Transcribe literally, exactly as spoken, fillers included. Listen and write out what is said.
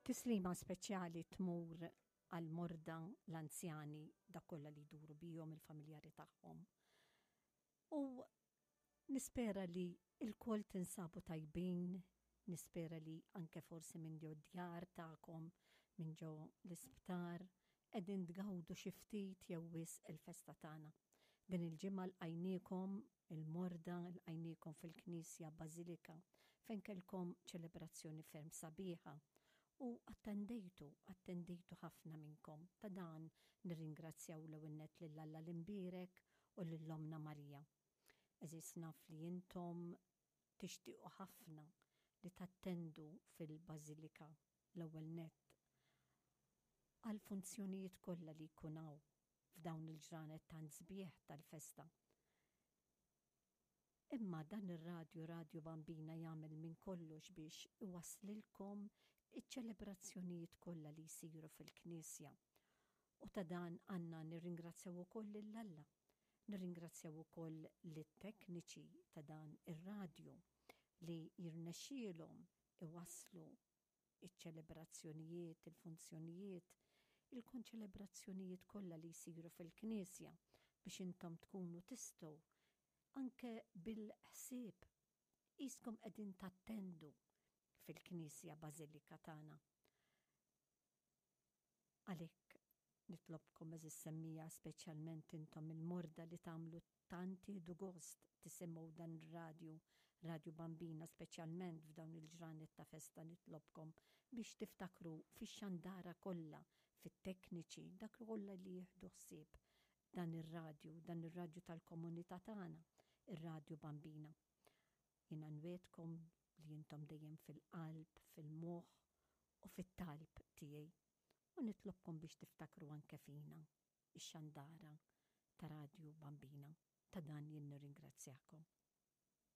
Tislima speċjali tmur għal-morda, l-anzjani, dak kollha li jduru bihom, il-familjari tagħhom. U nispera li lkoll tinsabu tajbin, nispera li anke forsi minn ġo djar tagħkom, minn ġo l-isptar, qegħdin tgawdu xi ftit jew wisq il-festa tagħna. Din il-ġimgħa lqajniekom il-morda, lqajniekom fil-Knisja Bażilika fejn kellkom ċelebrazzjoni ferm sabiħa u attendejtu, attendejtu ħafna minnkom. Ta' dan nirringrazzjaw l-ewwel nett lil Alla l-Imbierek u lil Ommna Marija. Għeżież, naf li intom tixtiequ ħafna li tattendu fil-Bażilika, l-ewwel nett għal funzjonijiet kollha li jkun hawn f'dawn il-ġranet tant sbieħ tal-festa. Imma dan ir-radju, Radju Bambina, jagħmel minn kollox biex iwaslilkom iċ-ċelebrazzjonijiet kollha li jsiru fil-Knisja. U ta' dan għandna nirringrazzjaw ukoll lil Alla. Nirringrazzjaw ukoll lit-tekniċi ta' dan ir-radju li jirnexxielhom iwasslu iċ-ċelebrazzjonijiet, il-funzjonijiet, il-konċelebrazzjonijiet kollha li jsiru fil-Knisja biex intom tkunu tistgħu anke bil-ħsieb qiskom qegħdin tattendu fil-Knisja Bażilika tagħna. Għalhekk nitlobkom, għeżież semmiegħa, speċjalment intom il-morda li tagħmlu tant tieħdu gost tisimgħu dan ir-radju, Radju Bambina, speċjalment f'dawn il-ġranet ta' festa, nitlobkom biex tiftakru fix-xandara kollha, fit-tekniċi, dak kollha li jieħdu ħsieb dan ir-radju, dan ir-radju tal-komunità tagħna, ir-Radju Bambina. Jiena nwegħedkom li intom dejjem fil-qalb, fil-moħħ u fit-talb tiegħi. U nitlobkom biex tiftakru anke fina, ix-xandara ta' Radju Bambina. Ta' dan jien nirringrazzjakom.